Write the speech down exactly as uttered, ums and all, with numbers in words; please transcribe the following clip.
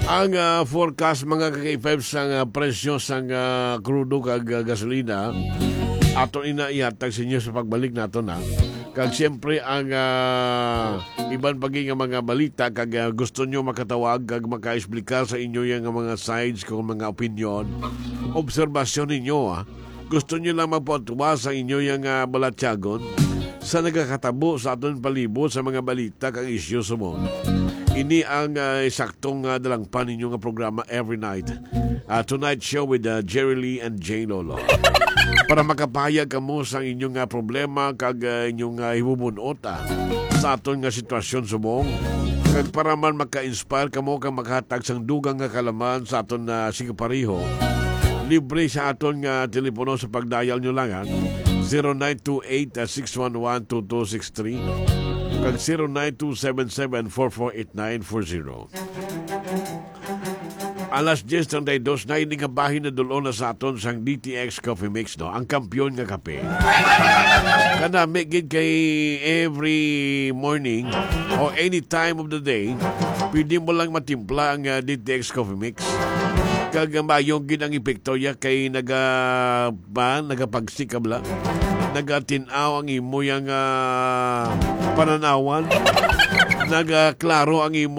Ang, ah, forecast, mga ka-K five, sang, ah, presyo sang, ah, krudo kag, ah, gasolina, ato ina ihatag sa inyo sa pagbalik nato na. Kag siyempre, ang, ah, iban pa gid nga mga balita, kag, ah, gusto nyo makatawag kag makaexplicar sa inyo yang mga sides kung mga opinion, obserbasyon ninyo, ah. Gusto nyo lang magpatuwa sa inyo yang, ah, balatyagon sa nagakatabo sa aton palibot sa mga balita kag isyu subong. Ini ang, ah, saktong, ah, dalangpan ninyo nga programa every night. Ah, Tonight Show with, ah, Jerry Lee and Jay Lolo. Para makapahayag kamo sa inyong, ah, problema kag, ah, inyong, ah, hibubun-ot, ah, sa aton nga sitwasyon subong. Kag para man maka-inspire kamo kag makahatag sang dugang nga kalaman sa aton, ah, sige pareho, libre sa aton nga telepono sa pagdayal nyo lang, ha? Zero nine two eight six one one two two six three kag zero nine two seven seven four four eight nine four zero. Alas diyes treinta y dos na ini nga bahin na dul-on na sa aton sang D T X Coffee Mix, no? Ang kampiyon nga kape. Kanami gid kay every morning o any time of the day, pwede mo lang matimpla ang, ah, D T X Coffee Mix. Kag, ah, maayo gid ang epekto ya kay naga-, ba, nagapagsikab la. Nagatin-aw ang imo yang, ah, pananawan. Nagaklaro ang imo